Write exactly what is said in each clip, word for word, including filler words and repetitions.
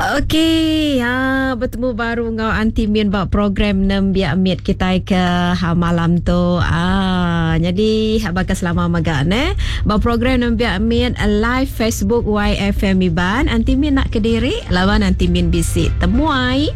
Okey, ha, betemu baru enggau Aunty Min ba program Nembiak Mit kitai ke ha, malam tu. Ah, jadi baka selama mega ne. Ba program Nembiak Mit live Facebook Y F M Iban, Aunty Min nak kediri lawan Aunty Min bisi temuai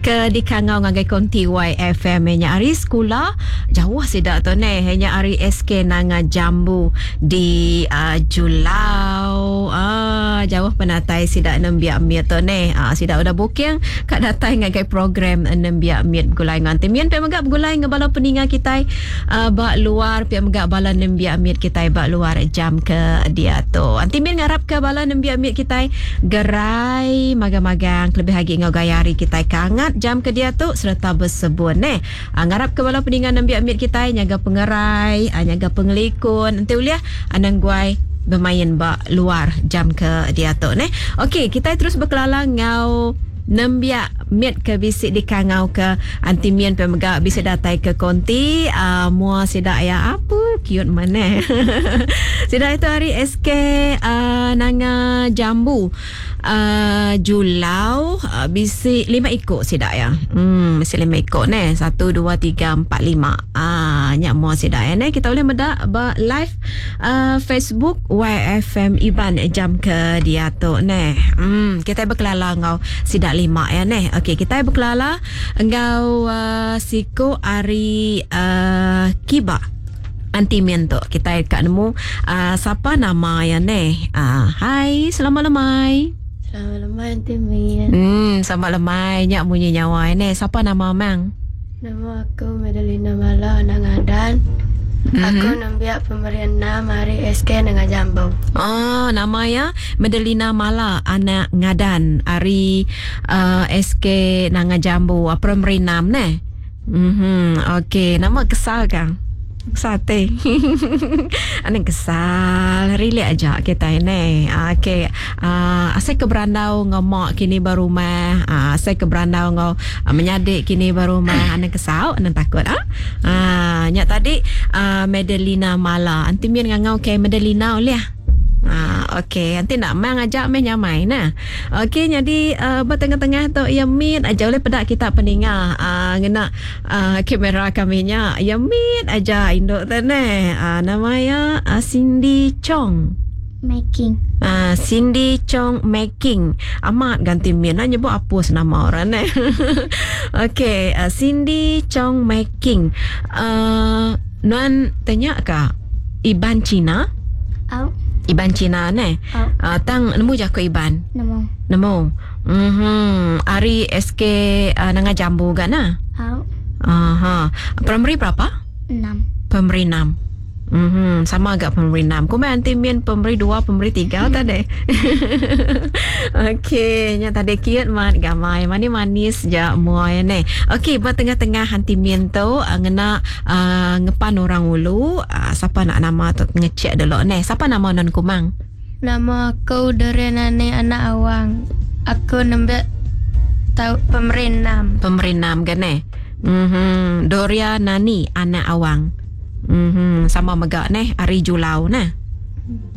ke dikangau ngagai konti Y F M nya ari sekolah jauh sida tu ne, nya ari S K Nanga Jambu di uh, Julau. Ah, jauh penatai sida Nembiak Mit tu ne. Ah, sida udah booking kat datai ngagai program Nembiak Mit begulai ngan Aunty Min, pia mega begulai ngan bala peninga kitai uh, ba luar, pia mega bala nembiak mit kitai ba luar jam ke dia tu. Aunty Min ngarap ke bala nembiak mit kitai gerai magang-magang lebih lagi ngau gaya hari kitai kangat jam ke dia tu serta bersebun ne. Uh, ngarap ke bala peninga nembiak mit kitai nyaga pengerai, uh, nyaga pengelikun. Enti uliah anang guai bermain ba luar jam ke dia tu ne. Okey, kita terus berkelala ngau nembiak mit ke bisi dikangau ke Aunty Min pe mega bisi datai ke konti uh, mua sida ya apa cute mana. Sida itu hari S K uh, Nanga Jambu uh, Julau uh, bisi lima ikut sida ya. Hmm, bisi lima ikut ne. Satu, dua, tiga, empat, lima. Ah, nyak mua sida ya ne. Kita boleh medak ba live uh, Facebook Y F M Iban jam ke dia tu ne. Hmm, kita berkelala ngau sida lima ya ne. Okey, kita berkelala engau uh, siko ari uh, Kiba Aunty Min tu. Kita kat nemu uh, siapa nama ya ne. Uh, hai, selamat lemai. Selamat lemai Aunty Min. Hmm, selamat lemai nyak bunyi nyawa ne. Siapa nama mang? Nama aku Madelina Mala anak Ngadan. Mm-hmm. Aku nembiak pemberian nama hari S K Nanga Jambu. Oh, nama ya Madelina Mala anak Ngadan hari uh, S K Nanga Jambu. Primary enam ne. Mhm. Okey, nama kesal kan? Sate. Ane kesal, relax aja kita ini. Okey. Ah, uh, asai ke berandau ngau mak kini baru rumah. Ah, uh, asai ke berandau ngau uh, menyadik kini baru rumah. Ane kesal, ane takut ah. Ah, nyak tadi uh, Madelina Mala. Anti min ngau ke Madelina oleh. Ah, okey, nanti nak mang ajak meh nyamai nah. Okey, jadi uh, bertengah-tengah tu ya min aja oleh pedak kita peninga. Ah, ngena uh, kamera kami nya. Ya min aja induk tu ne. Ah, nama ya uh, Cindy Chong Making. Ah, Cindy Chong Making. Amat ganti min nak nyebut apus nama orang ne. Okey, uh, Cindy Chong Making. Uh, nuan tanya ka Iban Cina? Au. Iban Cina ne. Oh. Uh, tang nemu jako Iban. Nemu. Nemu. Mhm. Ari S K uh, Nanga Jambu ga na? Au. Aha. Primary berapa? Enam. Primary enam. Mhm, sama agak primary enam. Ku mai anti min primary dua, primary tiga tadi. Okey, nya tadi kiat mat gamai mani manis ja muai ne. Okey, ba tengah-tengah anti min tu uh, ngena uh, ngepan orang ulu, uh, siapa nak nama tu ngecek dulu ne. Siapa nama non kumang? Nama aku Dorenane anak Awang. Aku nembak tau primary enam. Primary enam kan ne? Mhm, Doria Nani anak Awang. Mhm, sama megak neh ari Julau neh.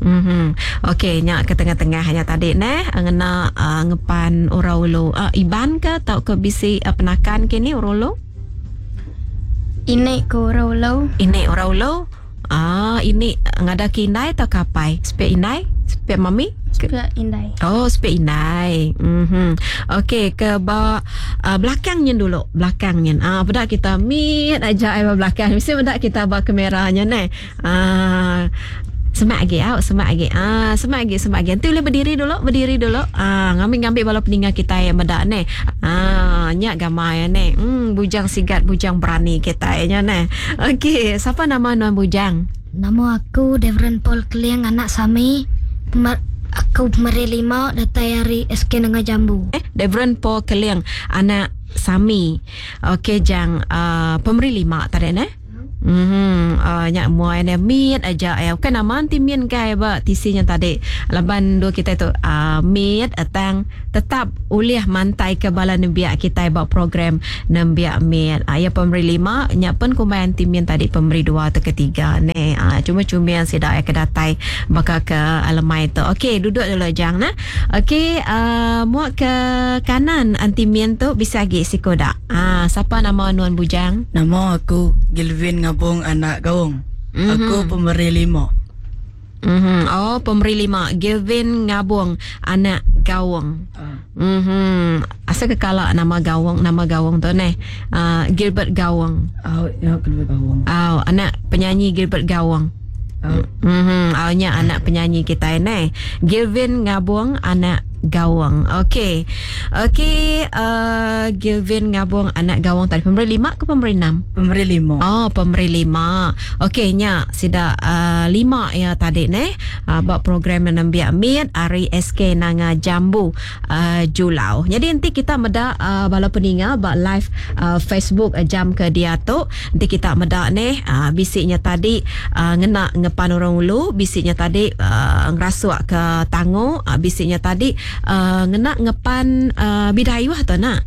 Mhm. Okey, nyak ke tengah-tengah nya tadi neh ngena uh, ngepan orang ulu. Uh, Iban ke tau ke bisi uh, penakan kini orang ulu? Ini ke orang ulu. Ini orang ulu. Ah, ini ngada ke indai atau kapai? Spek indai? Spek mami? Spek indai. Oh, spek indai. Mhm. Okey, ke ba uh, belakangnya dulu, belakangnya. Ah, budak kita mit aja ai belakang. Mesti budak kita ba kameranya ne. Ah, semak lagi, au, semak lagi. Ah, semak lagi, semak lagi. Nanti boleh berdiri dulu, berdiri dulu. Ah, ngambil-ngambil bala peninga kita yang medak ne. Ah, nyak gamai ne. Hmm, bujang sigat, bujang berani kita nya ne. Okey, siapa nama nuan bujang? Nama aku Devren Paul Keliang anak Sami. Pemer- aku pemeri lima datai hari S K Nanga Jambu. Eh, Devren Paul Keliang anak Sami. Okey, jang uh, pemeri lima tadi ne. Mhm, uh, nyak muai ne mit aja ya. Bukan nama anti min kai ba tisinya tadi. Laban dua kita tu uh, mit atang tetap ulih mantai ke bala nembiak kita ba program nembiak mit. Uh, ya pemberi lima, nyak pen kumbai anti min tadi pemberi dua atau ketiga ne. Uh, cuma cuma yang sidak ya kedatai baka ke alemai tu. Okey, duduk dulu jang nah. Okey, uh, muak ke kanan anti min tu bisa lagi sikodak. Ah, uh, siapa nama nuan bujang? Nama aku Gilvin Ngabung anak Gaung. Mm-hmm. Aku pemberi lima. Mm-hmm. Oh, pemberi lima. Gilvin Ngabung anak Gaung. Uh. Mm-hmm. Asal kekala nama Gaung, nama Gaung tu neh. Uh, Gilbert Gaung. Oh, ya Gilbert Gaung. Oh, anak penyanyi Gilbert Gaung. Oh. Mm-hmm. Oh, nya anak penyanyi kita neh. Gilvin Ngabung anak Gawang. Okey. Okey, uh, Gilvin Ngabung anak Gawang tadi pemberi lima ke pemberi enam? Pemberi lima. Oh, pemberi lima. Okey, nya sida uh, lima ya tadi neh. Uh, buat program nembiak mit hari S K Nanga Jambu uh, Julau. Jadi nanti kita meda uh, bala peninga bak live uh, Facebook uh, jam ke dia tu. Nanti kita meda neh uh, bisiknya tadi uh, ngena ngepan orang ulu, bisiknya tadi uh, ngerasuk ke tangu, uh, bisiknya tadi Uh, ngena ngepan uh, bidayuh tu nak.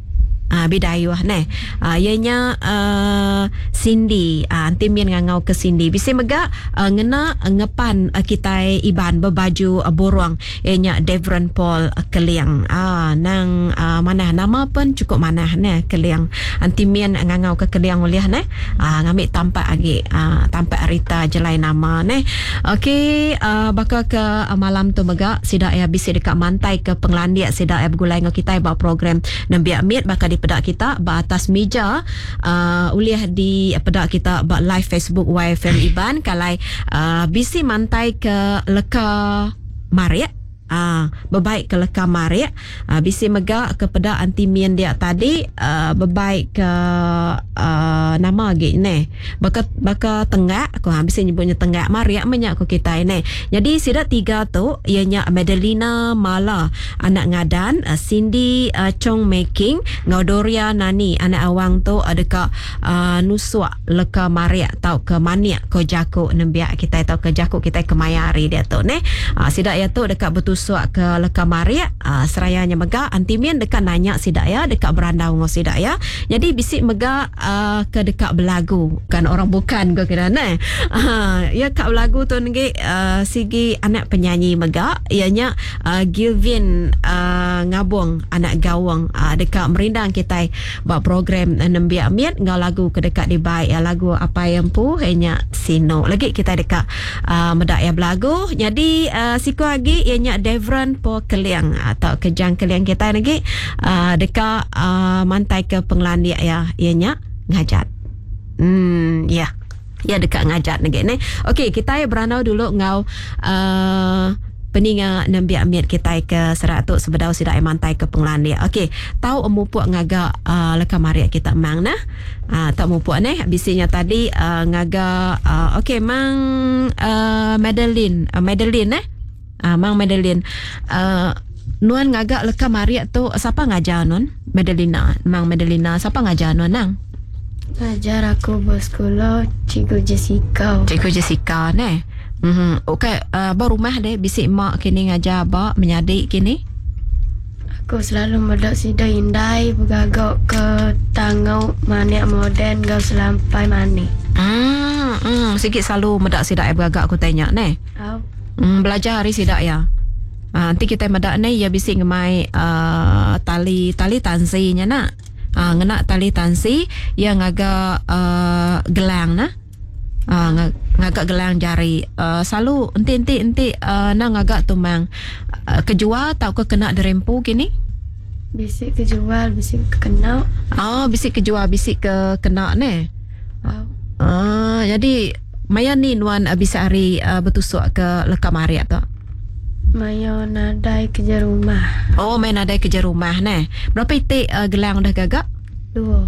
Ah, uh, bidayuh neh. Ah, uh, ianya uh, Cindy. Ah, uh, anti min ngangau ke Cindy. Bisi mega uh, ngena ngepan uh, kitai Iban berbaju uh, borong. Ianya Devron Paul uh, Keliang. Ah, uh, nang uh, manah nama pun cukup manah neh Keliang. Anti min ngangau ke Keliang ulih neh. Ah, uh, ngambil tampak agi uh, tampak Rita jelai nama neh. Okey, uh, bakal ke uh, malam tu mega sida ya bisi dekat mantai ke penglandiak sida ya bergulai ngau kitai ba program nembiak mit bakal di pedak kita ba atas meja uh, ulih di pedak kita ba live Facebook Y F M Iban kalai uh, bisi mantai ke leka marik. Ah, bebaik ke leka marik, ah, bisi mega ke pedak anti min dia tadi, ah, bebaik ke ah, nama lagi ne. Baka baka tenggak aku ha bisi nyebutnya tenggak marik menyak ku kita ne. Jadi sida tiga tu ianya Madelina Mala anak Ngadan, Cindy uh, Chong Making ngau Doria Nani anak awang tu ada ka uh, nusuk leka marik tau ke maniak ko jaku nembiak kita tau ke jaku kita kemayari dia tu ne. Ah, sida ya tu dekat betul suak ke leka marik, uh, serayanya mega antimin dekat nanya sidak ya, dekat berandau ngau sidak ya. Jadi bisik mega uh, ke dekat belagu, kan orang bukan ke kira ne. Uh, ya kat belagu tu ngi uh, sigi anak penyanyi mega ianya uh, Gilvin uh, Ngabung anak Gawang uh, dekat merindang kita buat program uh, nembiak miat ngau lagu ke dekat dibaik ya, lagu apa yang pu ianya Sino. Lagi kita dekat uh, medak ya belagu. Jadi uh, siku lagi ianya Devron Paul Keliang atau kejang Keliang kita lagi uh, dekat uh, mantai ke penglandiak ya ianya ngajat. Hmm ya. Ya dekat ngajat lagi ni. Okey, kita ya beranau dulu ngau uh, peninga nembiak miat kita ke seratus sebedau sidak mantai ke penglandiak. Okey, tahu emupuk ngaga uh, leka marik kita mang nah. Ah uh, tak mupuk ni bisinya tadi uh, ngaga uh, okey mang uh, Madeline, uh, Madeline eh. Ah, Mang Madeline. Uh, nuan ngagak leka marik tu siapa ngajar nuan? Madelina, Mang Madelina siapa ngajar nuan nang? Ngajar aku bersekolah Cikgu Jessica. Cikgu Jessica ne. Mhm. Okey, uh, ba rumah deh bisik mak kini ngajar ba menyadik kini. Aku selalu medak sida indai bergagak ke tangau manik moden gau selampai manik. Hmm, hmm, sikit selalu medak sida bergagak aku tanya ne. Oh. Hmm, belajar hari sidak ya. Ha, nanti kita medak ni ya bisik ngemai uh, tali tali tansinya nak. Ha, ngena tali tansi ya ngagak uh, gelang nah. Ha, ngagak gelang jari. Uh, selalu enti enti enti uh, nak ngagak tumang uh, kejual tau ke kena derempu kini? Bisik kejual, bisik kena. Ah, bisik kejual, bisik ke kena ne. Oh. Ah, jadi maya ni nuan uh, bisa hari uh, bertusuk ke leka marik tu. Maya nadai kerja rumah. Oh, maya nadai kerja rumah ne. Berapa itik uh, gelang dah gagak? Dua.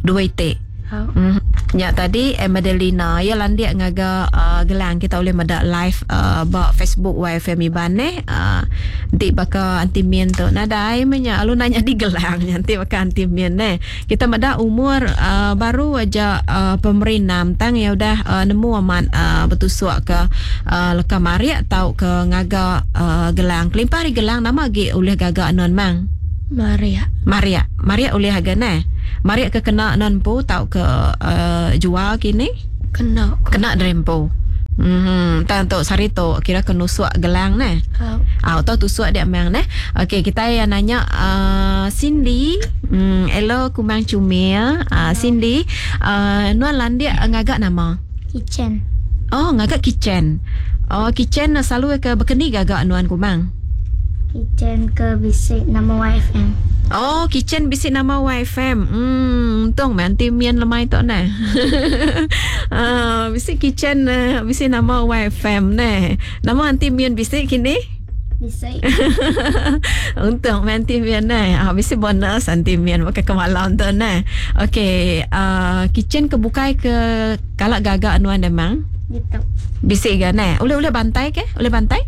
Dua itik. Oh. Mm. Nya tadi Madelina ya landik ngaga uh, gelang kita boleh meda live uh, ba Facebook Y F M Iban eh. Uh, nanti baka anti min tu nadai menya alu nanya di gelang nanti baka anti min eh. Kita meda umur uh, baru aja uh, pemerinam tang ya udah uh, nemu amat uh, betusuk ke uh, leka marik tau ke ngaga uh, gelang. Kelimpah ari gelang nama agi ulih gaga non mang? Maria. Maria. Maria ulih aga ne. Maria ke kena non pu tau ke uh, jual kini? Kena. Kena drempo. Hmm, tang tu sari tu kira ke nusuk gelang ne. Au. Au tau tusuk dia mang ne. Okey, kita yang nanya uh, Cindy, hmm, hello kumang cumil. Uh, Cindy, uh, nuan landik ngagak nama? Kitchen. Oh, ngagak kitchen. Oh, kitchen selalu ke berkeni gagak nuan kumang? Kitchen ke bisik nama Y F M. Oh, kitchen bisik nama Y F M. Hmm, untung nanti mian lemai tu ne. Ah, bisik kitchen uh, bisik nama Y F M ne. Nama anti mian bisik kini? Bisik. Untung nanti mian ne. Ah, bisik bonus anti mian pakai kemalam tu ne. Okey, uh, kitchen ke bukai ke kalak gagak nuan memang? Gitu. Bisik ke ne? Boleh-boleh bantai ke? Boleh bantai?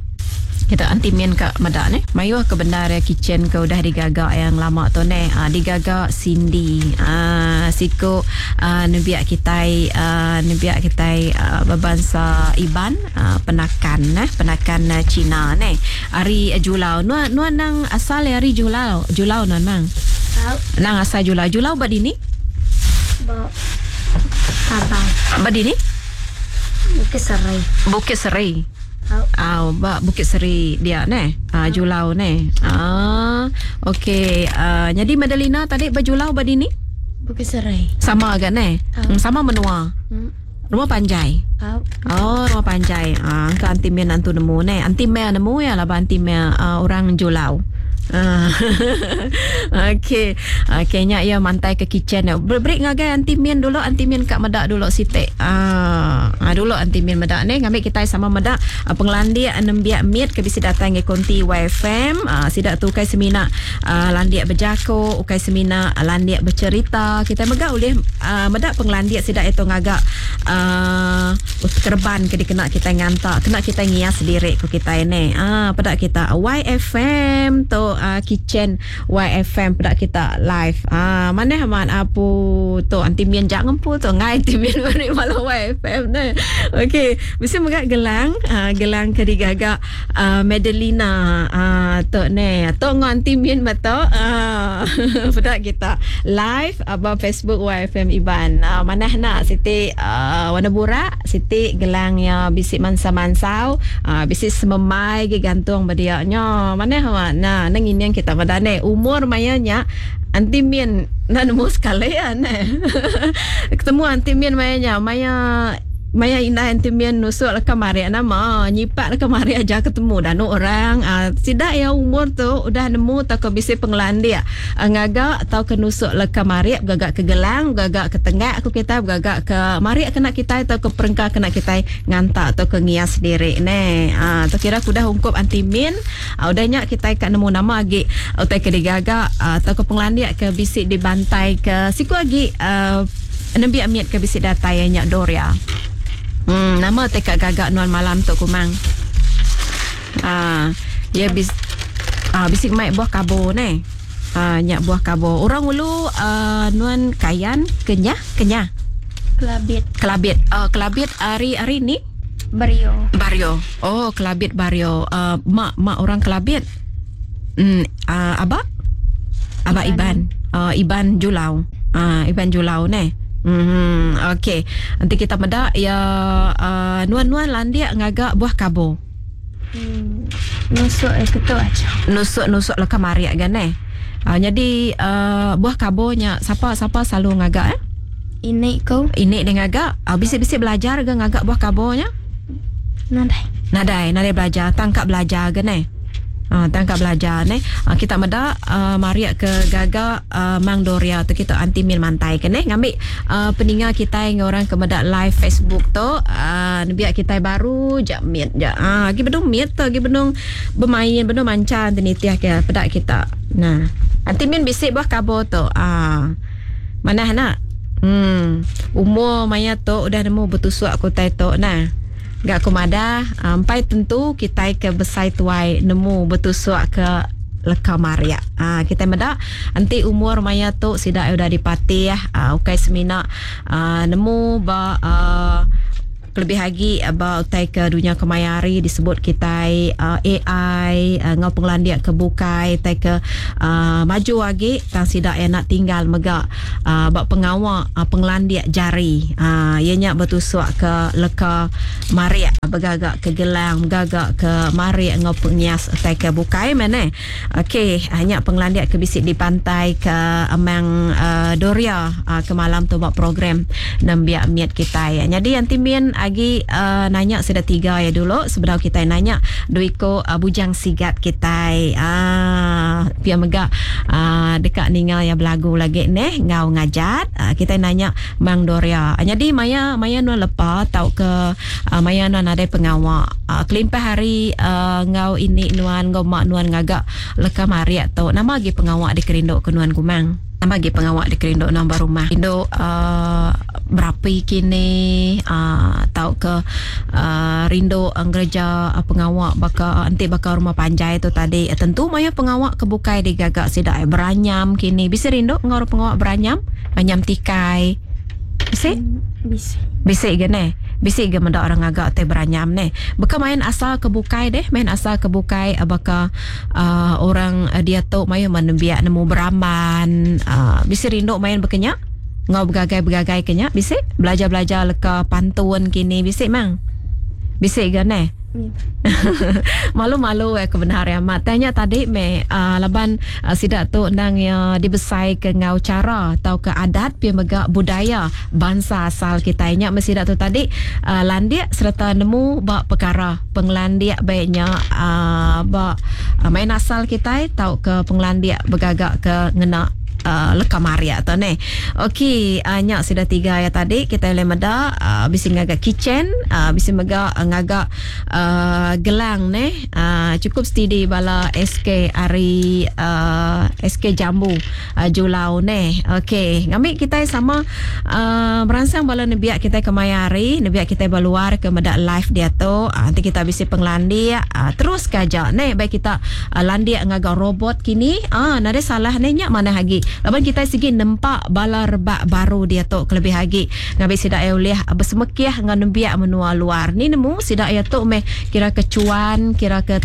Kita anti min ke medak ni. Mayuh ke benar ya kitchen ke udah digagak yang lama tu ne. Ha, digagak Cindy. Ha, siku ha, nebiak kitai ha, nebiak kitai ha, berbangsa Iban, ha, penakan ne, penakan Cina ne. Ari Julau. Nuan nuan nang asal ari Julau. Julau nuan mang. Tau. Nang asal Julau. Julau ba dini? Ba Tabang. Ba dini? Bukit Serai. Bukit Serai. Ah, oh, ba Bukit Seri dia ne. Ah, Julau ne. Ah, okey. Ah, jadi Madelina tadi berjulau ba dini? Bukit Serai. Sama agak ne. Oh. Sama menua. Hmm. Rumah panjai. Oh. Oh, rumah panjai. Ah, ke anti men antu nemu ne. Anti mel nemu ya lah ba anti mel uh, orang Julau. Ah. Okey. Okey nya ya mantai ke kitchen. Break ngagai anti min dulu, anti min kat medak dulu sitik. Ah, ah dulu anti min medak ni ngambil kita sama medak penglandik nembiak mit ke bisi datang ke konti Y F M. Ah, sidak tu kai semina ah, landik berjako, ukai semina landik bercerita. Kita megak boleh ah, medak penglandik sidak itu ngagak ah, kerban ke dikena kita ngantak, kena kita ngias sendiri ku kita ni. Ah, pedak kita Y F M tu uh, kitchen Y F M pedak kita live. Ah, mana amat apu tu anti mian jak ngempu tu ngai anti mian beri malam Y F M ne. Okey, mesti megak gelang, uh, gelang ke digagak uh, Madelina ah uh, tu ne. Tu ngon anti mian betul. Ah, uh, pedak kita live abang Facebook Y F M Iban. Uh, mana nak siti uh, warna burak, siti gelang ya bisik mansa-mansau, uh, bisik sememai ge gantung berdiaknya. Mana amat nah nang ini yang kita pada ne umur mayanya anti min na nemu sekali ya ne. Ketemu anti min mayanya maya maya indah anti min nusuk lah kemari nama nyipak lah kemari aja ketemu dan orang uh, sidak ya umur tu udah nemu atau ke bisi penglandia uh, ngagak atau ke nusuk lah kemari gagak ke gelang gagak ke tengah aku kita gagak ke mari kena kita atau ke perengka kena kita ngantak atau ke ngias sendiri ne. Ah uh, tu kira aku dah ungkup anti min uh, udah nyak kita kat nemu nama agi utai ke digagak uh, atau ke penglandia ke bisi dibantai ke siku agi uh, nembiak miat ke bisi datai nyak Doria. Hmm, nama tekak gagak nuan malam tu kumang. Ah, ya bis ah bisik mai buah kabo ne. Ah, nyak buah kabo. Orang ulu uh, nuan kayan kenyah kenyah. Kelabit. Kelabit. Uh, kelabit hari hari ni Bario. Bario. Oh, kelabit Bario. Uh, mak mak orang kelabit. Hmm, uh, abak? Abak Iban. Iban. Uh, Iban Julau. Ah, uh, Iban Julau ne. Hmm, okey. Nanti kita medak ya uh, nuan-nuan landik ngagak buah kabo. Hmm, nusuk eh ketuk aja. Nusuk-nusuk lah kamari kan eh. Uh, jadi uh, buah kabonya siapa siapa selalu ngagak eh? Ini kau. Ini dia ngagak. Uh, bisik-bisik belajar ke ngagak buah kabonya? Nadai. Nadai, nadai belajar, tangkap belajar ke ne? Ah, tangkap belajar ne. Ah, kita medak uh, mariak ke gagak uh, Mang Doria tu kita anti min mantai ke ne. Ngambil uh, peninga kita yang orang ke medak live Facebook tu uh, biar kita baru jak mit jak. Ah, gi bedung mit tu, gi bedung bermain, bedung manca anti nitiah ke pedak kita. Nah, anti min bisik buah kabo tu. Ah. Mana nak? Hmm. Umur maya tu udah nemu betusuk ku tai tu nah. Gak aku madah, empai tentu kita ke besai tuai nemu betusuk ke leka marik. Ha, kita meda enti umur maya tu sida udah dipatih, ha, ukai semina ha, nemu ba uh, lebih lagi ba utai ke dunia kemaya hari disebut kita uh, A I uh, ngau penglandik ke bukai utai ke uh, maju lagi tang sida yang nak tinggal mega uh, ba pengawa uh, penglandik jari uh, ianya bertusuk ke leka marik begagak ke gelang begagak ke marik ngau pengias utai ke bukai mana. Okey, hanya penglandik ke bisik di pantai ke Amang uh, Doria uh, ke malam tu buat program nembiak miat kita. Jadi anti min agi uh, nanya sudah tiga ya dulu sebelum kita nanya duiko uh, bujang sigat kita. Ah pia mega uh, dekat ninga yang belagu lagi neh ngau ngajat uh, kita nanya Mang Doria. Jadi maya maya nuan lepa tau ke uh, maya nuan ada pengawak uh, kelimpah hari uh, ngau ini nuan ngau mak nuan ngagak leka mariak tu nama lagi pengawak dikerinduk ke nuan kumang. Nama lagi pengawak dikerinduk nombor rumah. Induk uh, berapi kini uh, tau ke uh, rindu ngereja uh, pengawak baka uh, enti baka rumah panjai tu tadi uh, tentu maya pengawak kebukai digagak sidak uh, beranyam kini bisa rindu ngau pengawak beranyam anyam tikai bisa bisa bisa ge ne bisa ge mendak orang agak teh beranyam ne beka main asal kebukai deh main asal kebukai uh, baka uh, orang uh, dia tu maya menembiak nemu beramban uh, bisa rindu main bekenya ngau begagai-begagai kenya bisa belajar-belajar leka pantun kini bisa mang bisa ge ne. Malu-malu eh kebenar ya mat tanya tadi me uh, laban uh, sidak tu nang ya dibesai ke ngau cara atau ke adat pi mega budaya bangsa asal kita nya mesti dak tu tadi uh, landik serta nemu ba perkara penglandik baiknya uh, ba uh, main asal kita tau ke penglandik begagak ke ngena Uh, leka maria tu ne. Okey, uh, nyak sudah tiga ya tadi kita boleh meda uh, bisi ngagak kitchen, uh, bisi mega uh, ngagak uh, gelang ne. Uh, cukup steady bala S K ari uh, S K Jambu uh, Julau ne. Okey, ngambil kita sama uh, merangsang bala nebiak kita ke maya hari, nebiak kita berluar ke meda live dia tu. Uh, nanti kita bisi penglandik uh, terus kajak ne baik kita uh, landik ngagak robot kini. Ah, uh, nade salah ne nyak mana lagi. Laban kita segi nempak bala rebak baru dia tu kelebih lagi ngambil sidak ya ulih bersemekiah dengan nembiak menua luar ni nemu sidak ya tu meh kira kecuan kira ke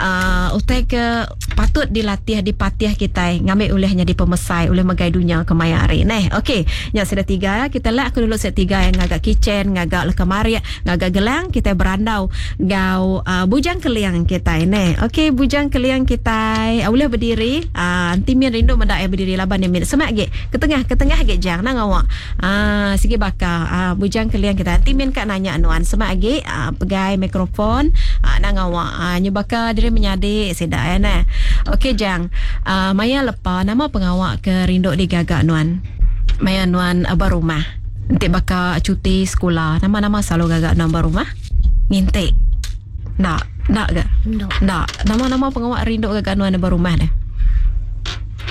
uh, utai ke patut dilatih dipatih kita ngambil ulihnya di pemesai ulih megai dunia kemaya hari neh. Okey, nya sudah tiga ya kita lak aku dulu set tiga yang ngagak kitchen ngagak leka marik ngagak gelang kita berandau gau uh, bujang keliang kita neh. Okey, bujang keliang kita uh, ulih berdiri uh, nanti min rindu mendak ya berdiri laban ni min semak ge ke tengah ke tengah ge jang nang awak ah sigi bakar ah bujang keliang kita nanti min kat nanya anuan semak ge ah, pegai mikrofon ah, nang awak ah nyebaka diri menyadik sedak ya nah. Okey jang ah, maya lepa nama pengawak ke rinduk digagak nuan maya nuan abah rumah nanti bakar cuti sekolah nama-nama selalu gagak nuan abah rumah ngintik nak nak ke nak nama-nama pengawak rinduk gagak nuan abah rumah deh.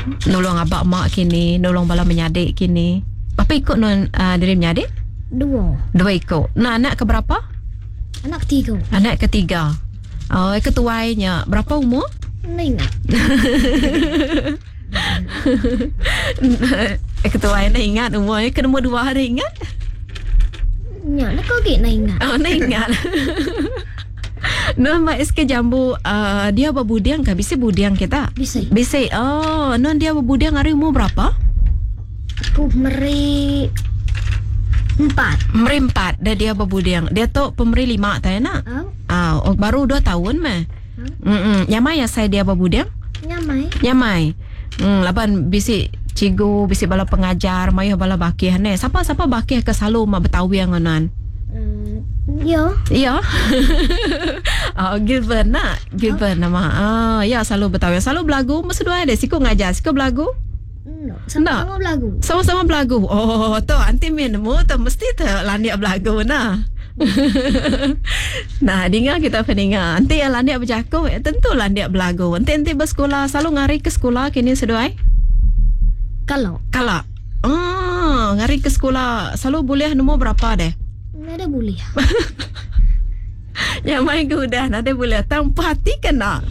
Nolong abak mak kini, nolong bala menyadik kini. Apa ikut non uh, diri menyadik? Dua. Dua ikut. Nah, anak ke berapa? Anak ketiga. Anak ketiga. Oh, ketuainya berapa umur? Nggak ingat. Ketuainya ingat umurnya. Ke nombor dua hari ingat? Ya, nak kau nak ingat. Oh, nak ingat. Non Mak S K Jambu uh, dia berbudiang ke? Bisa budiang kita? Bisa. Bisa. Oh, non dia berbudiang hari umur berapa? Aku meri empat. Meri empat. Dia dia berbudiang. Dia tu pemeri lima tak nak? Oh. Ah, oh, baru dua tahun mah. Hmm. Nyamai ya saya dia berbudiang? Nyamai. Nyamai. Hmm, laban bisi cikgu, bisi bala pengajar, mayu bala bakih ne. Siapa-siapa bakih ke selalu mak betawi ngonan? Ya. Ya. Oh, Gilbert nak. Gilbert nama. Ah, ya selalu betawi. Selalu belagu mesti dua ada. Siku ngajar, siku belagu. No, sama-sama belagu. Sama-sama belagu. Oh, tu anti min mu tu mesti tu landik belagu nah. Nah, dengar kita pendengar. Nanti yang landik berjakuk, ya, tentu landik belagu. Nanti nanti bersekolah selalu ngari ke sekolah kini seduai. Kalau. Kalau. Ah, ngari ke sekolah selalu boleh nombor berapa deh? Nada boleh. Ya mai ke udah nada boleh. Tang puas hati kena.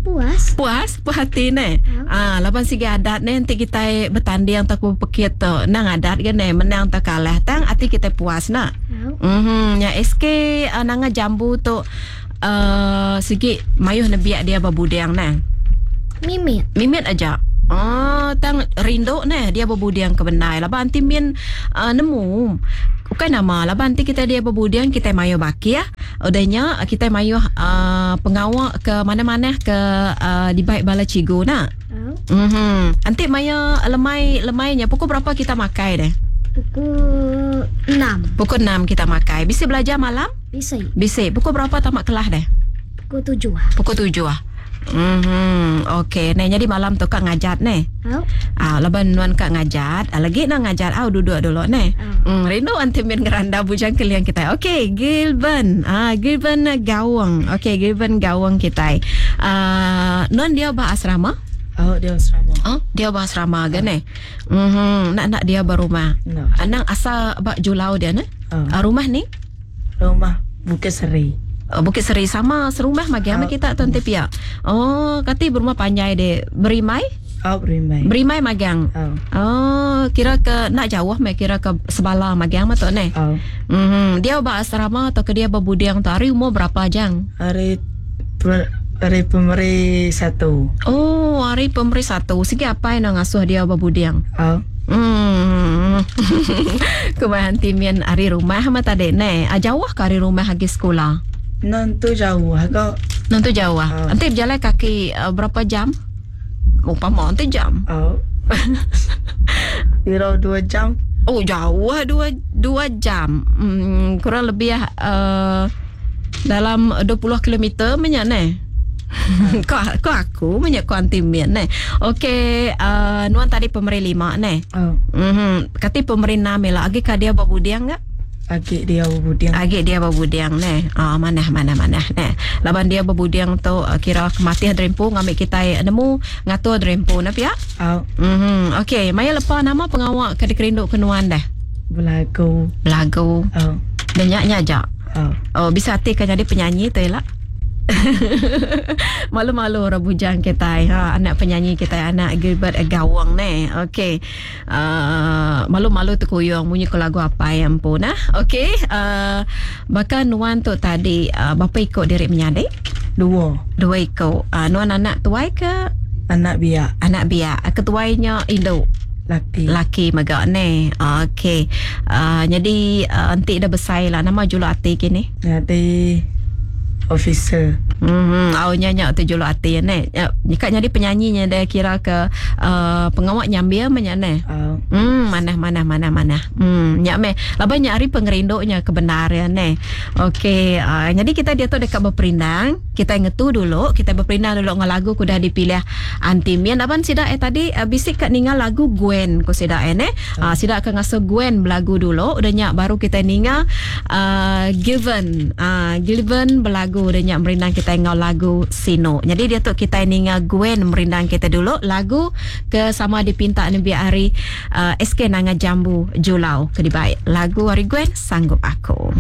Puas. Puas, puas hati ne. Ah, laban sigi adat ne nanti kita bertanding atau pekit tu. Nang adat ke ne menang atau kalah. Tang hati kita puas nak. Au. Mhm, ya S K uh, nanga jambu tu uh, sigi mayuh nebiak dia berbudiang ne. Mimit. Mimit aja. Oh, tang rindu ne dia berbudiang ke benai. Laban anti min uh, nemu. Bukan nama laban nanti kita dia berbudiang kita mayu baki ya. Udahnya kita mayu uh, pengawak ke mana-mana ke uh, di baik bala cigu nak. Au. Mhm. Nanti maya lemai lemainya pukul berapa kita makai deh? Pukul enam. Pukul enam kita makai. Bisa belajar malam? Bisa. Bisa. Pukul berapa tamat kelas deh? Pukul tujuh. Pukul tujuh ah. Mhm. Okey, nah jadi malam tu kak ngajat ne. Au. Ah, laban nuan kak ngajat, ah, lagi nak ngajat au duduk dulu ne. Au. Hmm, rindu anti min ngeranda bujang keliang kita. Okey, Gilben. Ah, Gilben Gawang. Okey, Gilben Gawang kita. Ah, nuan dia bah asrama? Oh, dia asrama. Oh, dia bah asrama ke ne? Mhm, nak nak dia berumah. No. Anang asal bak Julau dia ne? Oh. Ah, rumah ni? Rumah Bukit Seri. Oh, Bukit Seri sama serumah magi sama Oh. kita tuan pia. Oh, kati berumah panjai de. Berimai? Oh, berimai. Berimai magang. Oh. Oh, kira ke nak jauh me kira ke sebala magang mah tu ne. Oh. Mhm, dia ba asrama atau ke dia berbudiang tu hari umur berapa jang? Hari per, hari pemeri satu. Oh, hari pemeri satu. Sigi apa yang nak ngasuh dia berbudiang? Oh. Hmm. Kumahan timian hari rumah mah tadi ne. Ah, jauh ke hari rumah lagi sekolah? Nanti jauh agak. Nanti jauh ah. Oh. Nanti berjalan kaki uh, berapa jam? Umpama nanti jam. Oh. Kira dua jam. Oh, jauh ah, dua, dua jam. Hmm, kurang lebih uh, dalam dua puluh kilometer banyak ne. Kau, kau aku banyak kau anti mian ne. Okey, uh, nuan tadi pemeri lima ne. Oh. Mhm, kati pemeri enam lah. Agi ka dia berbudiang enggak? Agi dia berbudiang. Agi dia berbudiang ne. Ah, mana mana mana ne. Laban dia berbudiang tu uh, kira kematian dreampu ngambil kita nemu ngatur dreampu na pia. Oh. Mhm. Okey, maya lepa nama pengawak ke dikerinduk kenuan dah. Belagu. Belagu. Oh. Denyak nya jak. Oh. Oh, bisa hati kan jadi penyanyi tu elak. Malu-malu orang bujang kita, ha, anak penyanyi kita, anak Gilbert Gawang ne. Okey. Uh, malu-malu terkuyung bunyi ke lagu apa yang pun nah. Okey, uh, bahkan nuan tu tadi uh, bapa ikut diri menyadik? Dua. Dua ikut. Uh, nuan anak tuai ke? Anak biak. Anak biak. Ketuainya induk. Laki. Laki megak ne. Okey. Uh, jadi uh, entik dah besar lah nama juluk ati kini. Jadi officer. Hmm, au nyanyak tu juluk ati ne. Ya, kat jadi penyanyinya dia kira ke uh, pengawak nyambia menyak ne. Oh. Hmm, mana mana mana mana. Hmm, nyak me. Laban nyak hari pengerinduknya kebenaran ne. Okey, uh, jadi kita dia tu dekat berperindang. Kita ngetu dulu, kita berperindang dulu dengan lagu kudah dipilih Aunty Mian. Laban sida eh tadi uh, bisik kat ninga lagu Gwen ko sida eh ne. Uh, sida akan ngasuh Gwen belagu dulu, udah nyak baru kita ninga uh, Given. Uh, Given belagu udah nyak merindang kita ngau lagu Sino. Jadi dia tu kita ninga Gwen merindang kita dulu lagu ke sama dipinta ni biar hari uh, S K Nanga Jambu Julau ke dibaik. Lagu hari Gwen Sanggup Aku.